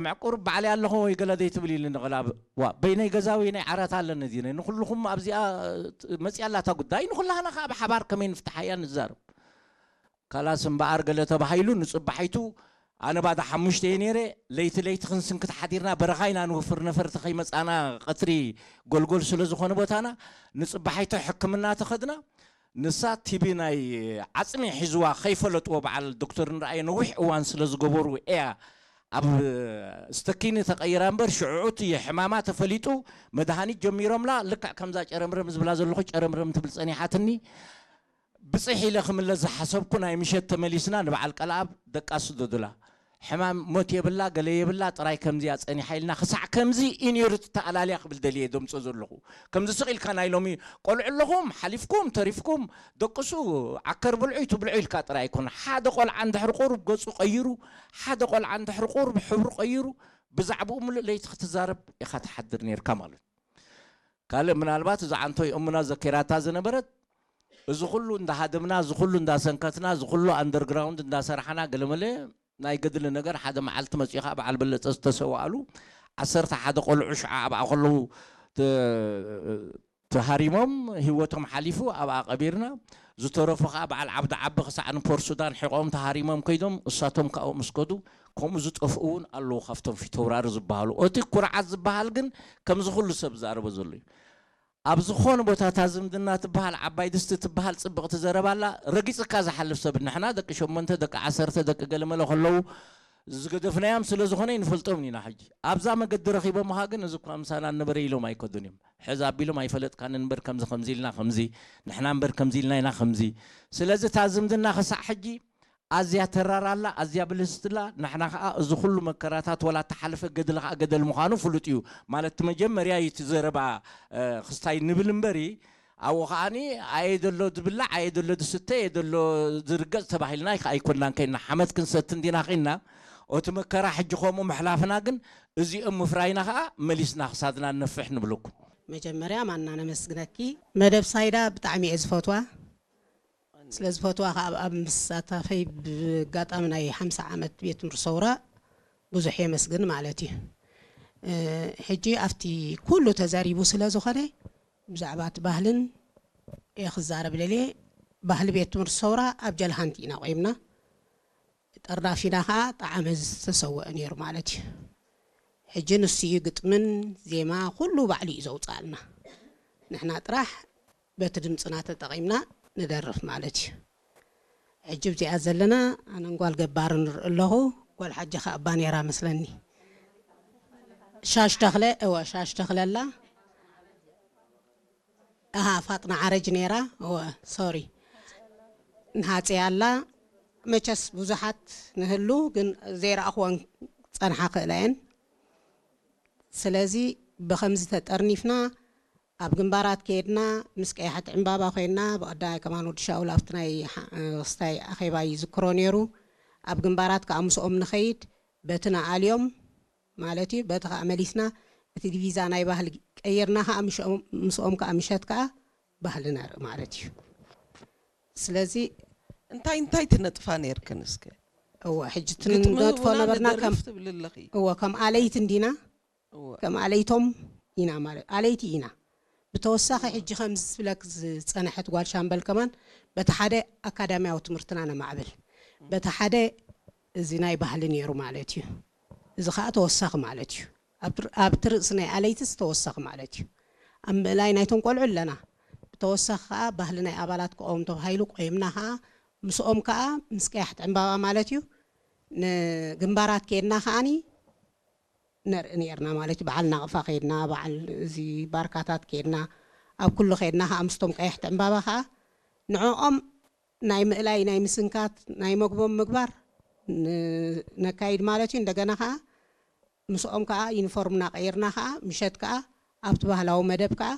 ምዕቁር ባዕለይ ኣለኹ ወይ ገለ ዘይትብል ኢሉ ንቕላብ። ዋ፣ በይነይ ገዛ ወይ ናይ ዓራት ኣለኒ እዚ ናይ ንኹልኹም ኣብዚኣ መጺኣ ኣላታ ጉዳይ፣ ንኹላህና ከኣ ብሓባር ከመይ ንፍትሓያ ንዛረብ። ካላስ እምበኣር ገለ ተባሂሉ ንጽባሒቱ ኣነ ባዳ ሓሙሽተ እየ ነይረ። ለይቲ ለይቲ ክንስንክት ሓዲርና፣ በረኻ ኢና ንውፍር፣ ነፈርቲ ከይመጻና ቀትሪ ጎልጎል ስለ ዝኾነ ቦታና። ንጽባሒቱ ሕክምና ተኸድና። ንሳ ቲቢ ናይ ዓጽሚ ሒዝዋ ከይፈለጥዎ በዓል ዶክተር ንረኣየ ነዊሕ እዋን ስለ ዝገበሩ እያ ኣብ ስተኪኒ ተቐይራ እምበር ሽዑዑ እቲ ሕማማ ተፈሊጡ መድሃኒት ጀሚሮምላ። ልክዕ ከምዛ ጨረምረም ዝብላ ዘለኹ ጨረምረም ትብል ጸኒሓትኒ። ብጽሕ ኢለ ክምለስ ዝሓሰብኩ ናይ ምሸት ተመሊስና ንበዓል ቀልኣብ ደቃ ስደዱላ። ሕማም ሞት የብላ፣ ገለ የብላ፣ ጥራይ ከምዚያ ጸኒሓ ኢልና ክሳዕ ከምዚ ኢኒርት ተኣላልያ ክብል ደልየ ደምጾ ዘለኹ። ከምዚ ስቕ ኢልካ ናይ ሎሚ ቆልዑ ኣለኹም፣ ሓሊፍኩም፣ ተሪፍኩም፣ ደቅሱ፣ ዓከር ብልዑ፣ ይትብልዑ ኢልካ ጥራይ ኣይኮነ። ሓደ ቆልዓ እንድሕር ቁሩብ ገጹ ቀይሩ፣ ሓደ ቆልዓ እንድሕር ቁሩብ ሕብሩ ቀይሩ፣ ብዛዕባኡ ምሉእ ለይቲ ክትዛረብ ኢኻ ትሓድር ነይርካ ማለት። ካልእ ምናልባት እዛ ዓንቶይ እሙና ዘኪራታ ዝነበረት፣ እዚ ኩሉ እንዳሃደምና፣ እዚ ኩሉ እንዳሰንከትና፣ እዚ ኩሉ ኣንደርግራውንድ እንዳሰራሕና፣ ገለመለ ናይ ገድሊ ነገር ሓደ መዓልቲ መጺኡ ኸዓ በዓል በለጸ ዝተሰዋእሉ ዓሰርተ ሓደ ቆልዑ ሽዓ ኣብኣ ከለዉ ተ-፣ ተሃሪሞም ህይወቶም ሓሊፉ ኣብኣ ቀቢርና። ዝተረፉ ኸዓ በዓል ዓብዲ ዓቢ ክሳዕ ንፖርት ሱዳን ሒቖም ተሃሪሞም ከይዶም፣ እሳቶም ካብኡ ምስ ከዱ፣ ከምኡ ዝጠፍኡ እውን ኣለዉ ካብቶም ፊተውራሪ ዝበሃሉ። እቲ ኩርዓት ዝበሃል ግን ከምዚ ኩሉ ሰብ ዝዛረቦ ዘሎ እዩ። ኣብ ዝኾነ ቦታ እታ ዝምድና ትበሃል ዓባይ ድስቲ ትበሃል ጽብቕቲ ዘረባ ኣላ። ረጊጽካ ዝሓልፍ ሰብ፣ ንሕና ደቂ ሸሞንተ፣ ደቂ ዓሰርተ፣ ደቂ ገለመለ ከለዉ ዝገደፍናዮም ስለ ዝኾነ ይንፈልጦም ኢና። ሕጂ ኣብዛ መገዲ ረኺቦምኻ ግን እዚ እኳ ምሳና ነበረ ኢሎም ኣይከዱን እዮም። ሕዚ ኣቢሎም ኣይፈለጥካን እምበር ከምዚ ከምዚ ኢልና ከምዚ፣ ንሕና እምበር ከምዚ ኢልና ኢና ከምዚ። ስለዚ እታ ዝምድና ክሳዕ ሕጂ ኣዝያ ተራር ኣላ፣ ኣዝያ ብልስቲ ኣላ። ንሕና ኸኣ እዚ ኩሉ መከራታት ወላ እተሓለፈ ገድሊ ኸኣ ገደል ምዃኑ ፍሉጥ እዩ። ማለት እቲ መጀመርያ እዩ እቲ ዘረባ፣ እ፣ ክስታይ ንብል እምበሪ፣ ኣብኡ ኸኣኒ ኣየ ዘሎ ዝብላዕ፣ ኣየ ዘሎ ዝስተ፣ ኣየ ዘሎ ዝርገጽ ተባሂልና ኣይከ-፣ ኣይኮንናን ከይንና። ሓመድ ክንሰቲ እንዲና ኸይንና። እቲ መከራ ሕጂ ከምኡ ምሕላፍና ግን እዚኦም ምፍራይና ኸኣ መሊስና ክሳድና ንነፍሕ ንብለኩም። መጀመርያ ማና ነመስግነኪ። መደብ ሳይዳ ብጣዕሚ እየ ዝፈትዋ። ስለ ዝፈትዋ ኸኣ ኣብ፣ ኣብ ምስታፈይ ብኣጋጣሚ ናይ ሓምሳ ዓመት ቤት ትምህርቲ ሰውራ ብዙሕ የመስግን ማለት እዩ። እ፣ ሕጂ ኣብቲ ኩሉ ተዛሪቡ ስለ ዝኾነ ብዛዕባ እቲ ባህልን እየ ክዛረብ ደልየ። ባህሊ ቤት ትምህርቲ ሰውራ ኣብ ጀልሃንቲ ኢና ቆይምና። ጠርናፊና ኸኣ ጣዕመ ዝተሰወአ ነይሩ ማለት እዩ። ሕጂ ንሱ እዩ ግጥምን ዜማ ኩሉ ባዕሉ እዩ ዘውፅኣልና። ንሕና ጥራሕ በቲ ድምፅና ተጠቒምና ንደርፍ ማለት እዩ። ሕጂ ኣብዚኣ ዘለና ኣነን ጓል ገባርን ንርኢ ኣለኹ። ጓል ሓጂ ኸኣ እባ ነይራ መስለኒ። ሻሽ ተኽለ፣ እወ፣ ሻሽ ተኽለ ኣላ። ኣሃ፣ ፋጥና ዓረጅ ነይራ። እወ፣ ሶሪ። ንሃፂ ኣላ። መቸስ ብዙሓት ንህሉ፣ ግን ዘይረኣኽወን ጸንሓ ክእላ እየን። ስለዚ ብኸምዚ ተጠርኒፍና ኣብ ግንባራት ከይድና ምስ ቀያሕቲ ዕምባባ ኮይንና፣ ብቐዳማይ ከማን ወዲ ሻውል ኣብቲ ናይ ሓ-፣ ክስታይ ኣኼባ ይዝክሮ ነይሩ። ኣብ ግንባራት ከኣ ምስኦም ንኸይድ በቲ ንኣልዮም ማለት እዩ። በቲ ከኣ መሊስና እቲ ዲቪዛ ናይ ባህሊ ቀይርና ከኣ ምሽኦም-፣ ምስኦም ከኣ ምሸት ከኣ ባህሊ ነርኢ ማለት እዩ። ስለዚ እንታይ እንታይ ትነጥፋ ነይርክን እስከ? እወ፣ ሕጂ እቲ ግጥሚ ንነጥፎ እውን ነበርና ንደርፍ ከም፣ ትብሊ ኣለኺ። እወ፣ ከም ኣለይቲ እንዲና፣ እወ። ከም ኣለይቶም ኢና ማለት፣ ኣለይቲ ኢና። ብተወሳኺ ሕጂ ከምዚ ዝብለክ ዝጸንሐት ጓል ሻምበል ከማን በቲ ሓደ ኣካዳሚያዊ ትምህርትና ነማዕብል፣ በቲ ሓደ እዚ ናይ ባህሊ ነይሩ ማለት እዩ። እዚ ኸኣ ተወሳኺ ማለት እዩ። ኣብቲ ር-፣ ኣብቲ ርእሲ ናይ ኣለይትስ ተወሳኺ ማለት እዩ። ኣብ ምእላይ ናይቶም ቆልዑ ኣለና። ብተወሳኺ ኸኣ ባህሊ ናይ ኣባላት ክቐውም ተባሂሉ ቆይምና ኸኣ ምስኦም ከኣ ምስ ቀያሕቲ ዕምባባ ማለት እዩ ንግንባራት ከይድና ከኣኒ ነርኢ ነይርና ማለት እዩ። በዓል ናቕፋ ከይድና፣ በዓል እዚ ባርካታት ከይድና፣ ኣብ ኩሉ ከይድና ኸኣ ምስቶም ቀያሕቲ ዕምባባ ኸኣ ንዕኦም ናይ ምእላይ፣ ናይ ምስንካት፣ ናይ መግቦም ምግባር ን-፣ ነካይድ ማለት እዩ። እንደገና ኸኣ ምስኦም ከኣ ዩኒፎርምና ቀይርና ኸኣ ምሸት ከኣ ኣብቲ ባህላዊ መደብ ከኣ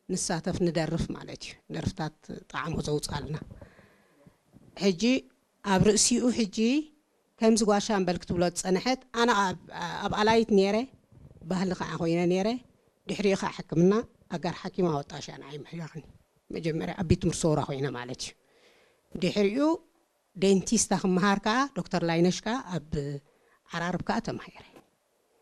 ንሳተፍ፣ ንደርፍ ማለት እዩ። ደርፍታት ጣዕሙ ዘውጻልና። ሕጂ ኣብ ርእሲኡ ሕጂ ከምዚ ጓል ሻምበል ክትብሎ ዝጸንሐት፣ ኣነ ኣብ፣ ኣብ ኣላይት ነይረ፣ ባህሊ ከኣ ኮይነ ነይረ። ድሕሪኡ ከኣ ሕክምና ኣጋር ሓኪም ኣወጣሽ ኣነ ኣይምሕያኽኒ። መጀመርያ ኣብ ቤት ትምህርቲ ሰውራ ኮይነ ማለት እዩ። ድሕሪኡ ዴንቲስታ ክመሃር ከኣ ዶክተር ላይነሽ ከኣ ኣብ ዓራርብ ከኣ ተማሂረ።